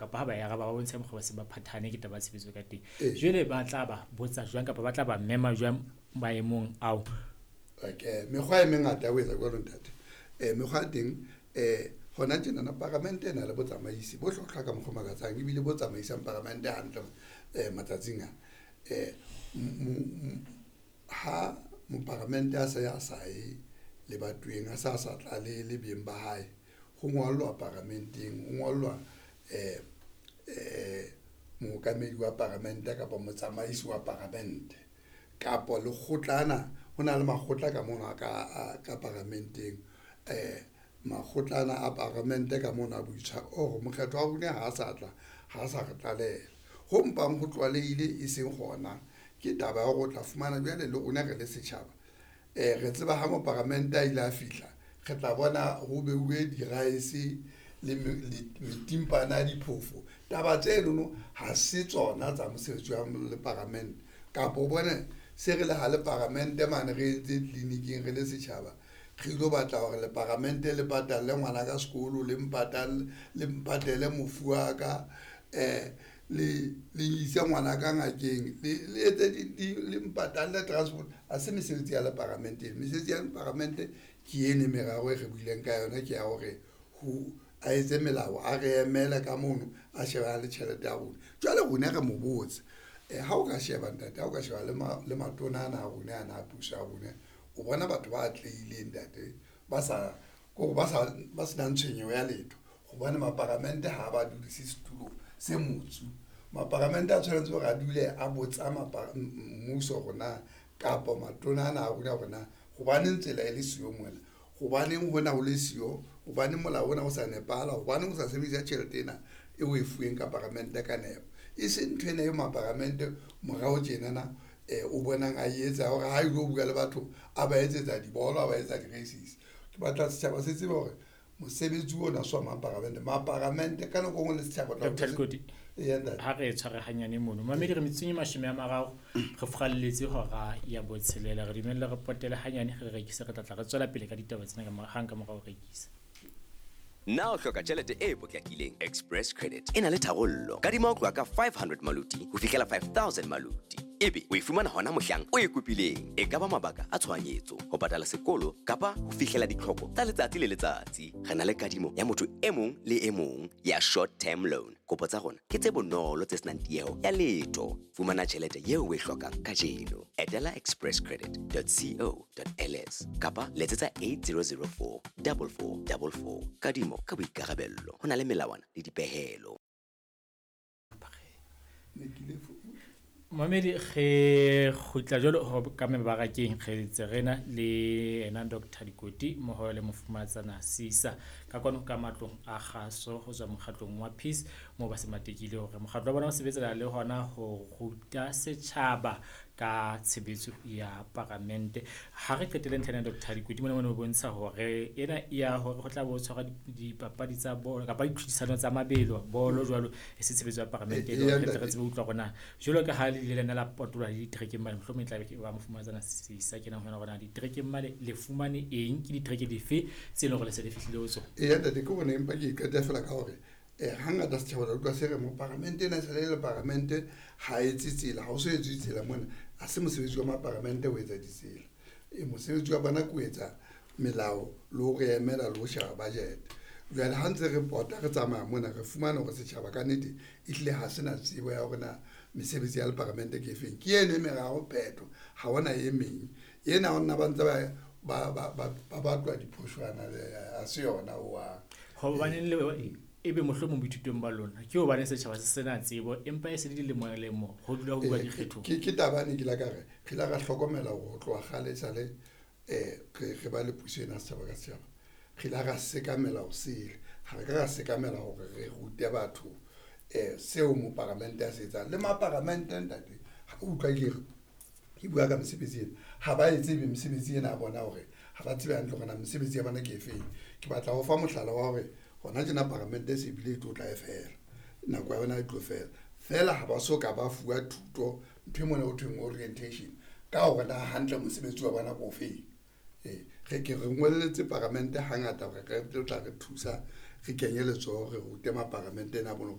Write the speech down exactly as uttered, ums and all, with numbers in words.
Kapa ha ba e araba ba bontshe mokgwa ba se ba phathane ke taba ya tshebetso ka teng. Jwale ba tla ba botsa jwang kapa ba tla ba mema jwang maemong ao? Okay, mekgwa e mengata ya ho etsa jwalo ntate. um Mekgwa ya teng, um hona tjenana paramente e na le botsamaisi bo hlwahlwa ka mokgwa o makatsang, ebile bo tsamaisang paramente hantle um matsatsing ana. um Ha moparamente a se a sa ye lebatoweng, a sa sa tlale le beng ba hae, ho ngollwa paramenteng, ho ngollwa um um mookamedi wa paramente kapa motsamaisi wa paramente kapa lekgotlana. Ho na le makgotla ka mono a ka ka paramenteng, um makgotlana a paramente ka mono a boitshwaro hore mokgetho wa rona ha sa tla, ha sa re tlaleha. Ho mpang ho tlwalehile e seng gona ke taba ya hore o tla fumana jwale le rona re le setjhaba, um re tseba ha moparamente a ile a fihla, re tla bona ho beuwe di-rice le metimpana ya diphofo. Taba tsenono ha se tsona tsa mosebetsi wa le paramente. Kapa o bone se re le ha le paramente mane re etse tleliniking re le setjhaba, re ilo batla hore le paramente le patalle ngwana ka sekolo, le mpatalle, le mpatele mofu wa ka, um le le ise ngwana ka ngakeng, le le etse le mpatalle transport. Ha se mesebetsi ya le paramente. Mesebetsi ya paramente ke eno e meraro e re buileng ka yona, ke ya hore ho a etse melao, a re emele ka mono, a shebana le tjhelete ya rona. Jwale rona re mo botse, ha o ka sheba ntate, ha o ka sheba le matona ana a rona ana a puso ya rona, o bona batho ba atlehileng ntate, ba sa kore ba sa ba senang tshwenyeho ya letho, hobane maparamente ha ba dudise setulong se motsu. Maparamente a tshwanetse hore a dule a botsa mmuso hore na kapa matona ana a rona hore na hobaneng tsela e le siyo mona, hobaneng hona ho le siyo, hobaneng molao ona o sa nepahala, hobaneng o sa sebedisa tjhelete ena e o e fuweng ka paramente ka nepo. E seng ntho ena e maparamente morao tjenana um o bonang a etsa hore ha ilo bua le batho a ba etsetsa dibolo, a ba etsa di-races. Ke batla setjhaba se tsebe hore mosebetsi ona se wa maparamente, maparamente ka nako e nngwe le setjhaba. Doctor Lekoti, ha re tshware hanyane mono mamedi, re metsotsong e mashome a mararo re furalletse hora ya botshelela. Re dumelle re potele hanyane, re rekise, re tla tla re tswela pele ka ditaba tsena hang ka morao ho rekisa. Na o hloka tjhelete e potlakileng? Express Credit e na le tharollo. Kadima ho tloha ka five hundred maluti ho fihlela five thousand maluti. Ebe o e fumana hona mohlang o e kopileng. E ka ba mabaka a tshohanyetso, ho patala sekolo kapa ho fihlela ditlhoko tsa letsatsi le letsatsi. Re na le kadimo ya motho e mong le e mong ya short term loan. Kopo tsa rona ke tse bonolo tse senang tieho ya letho. Fumana tjhelete eo o e hlokang kajeno. Etela express credit dot co dot L S kapa letsetsa eight zero zero four double four double four. Kadimo ka boikarabello ho na le melawana le dipehelo. Mamedi, re kgutla jwalo ho ka mebarakeng, re ntse re na le ena Doctor Dikoti mmoho le Mofumahatsana Sisa ka kwano ka matlong a kgaso ho tswa mokgatlong wa Peace, moo ba se matekile hore mokgatlo wa bona o sebetsana le hona ho ruta setjhaba ka tshebetso ya paramente. Ha re qetelle ntlha ena, Doctor Dikoti, mona mona o bontsha hore ena ya hore ho tla bo tshwarwa dipapadi tsa bolo kapa ditlhodisano tsa mabelo bolo jwalo, e se tshebetso ya paramente, e le hore re tsebe ho utlwa hore na jwalo ka ha le ile lena la potoloha le diterekeng mane, mohlomong e tla be ke ba Mofumahatsana Sisa ke nang ho yona hore na diterekeng mane le fumane eng, ke ditereke dife tse leng hore le se le fihlile ho tsona. Eya ntate, ke hore empa ke qete fela ka hore eh hangata setjhaba la utlwa se re moparamente ena e sale le paramente ha etse tsela, ha o so etse tsela mona, ha se mosebetsi wa maparamente ho etsa ditsela. E mosebetsi wa bona ke ho etsa melao le ho re emela le ho sheba budget. Jwale ha ntse re pota re tsamaya mona, re fumana hore setjhaba ka nnete ehlile ha se na tsebo ya hore na mesebetsi ya leparamente ke efeng. Ke eno e meraro phetho, ha hona e meng. Ena ho nna ba ntse ba ba ba ba batlwa diphoshwana, ha se yona hohang. Hobaneng le ebe mohlomong boithutong ba lona ke hobane setjhaba se sena tsebo, empa e se le dilemo lemo ho dula ho bua dikgethong. Ke ke taba ene ke la ka re re la ra hlokomela hore ho tloha kgale esale eh re re ba le puso ena setjhaba ka setjhaba, re la ra sekamela ho sele, ha re ka ra sekamela hore re rute batho eh seo moparamente a se etsang. Le maparamente ntate, ha o utlwa ke re ke bua ka mesebetsi ena, ha ba e tsebe mesebetsi ena ya bona, hore ha ba tsebe hantle hore na mesebetsi ya bona ke efeng. Ke batla ho fa mohlala wa hore hona tjena paramente e se bile e tlo tla e fela, nako ya yona e tlo fela fela, ha ba so ka ba fuwa thuto ntho e mona ho thweng orientation ka hore na hantle mosebetsi wa bona ke ofeng. Eh re ke re ngolletse paramente hangata hore re tlo tla re thusa, re kenye letsoho, re rute maparamente ena a bona.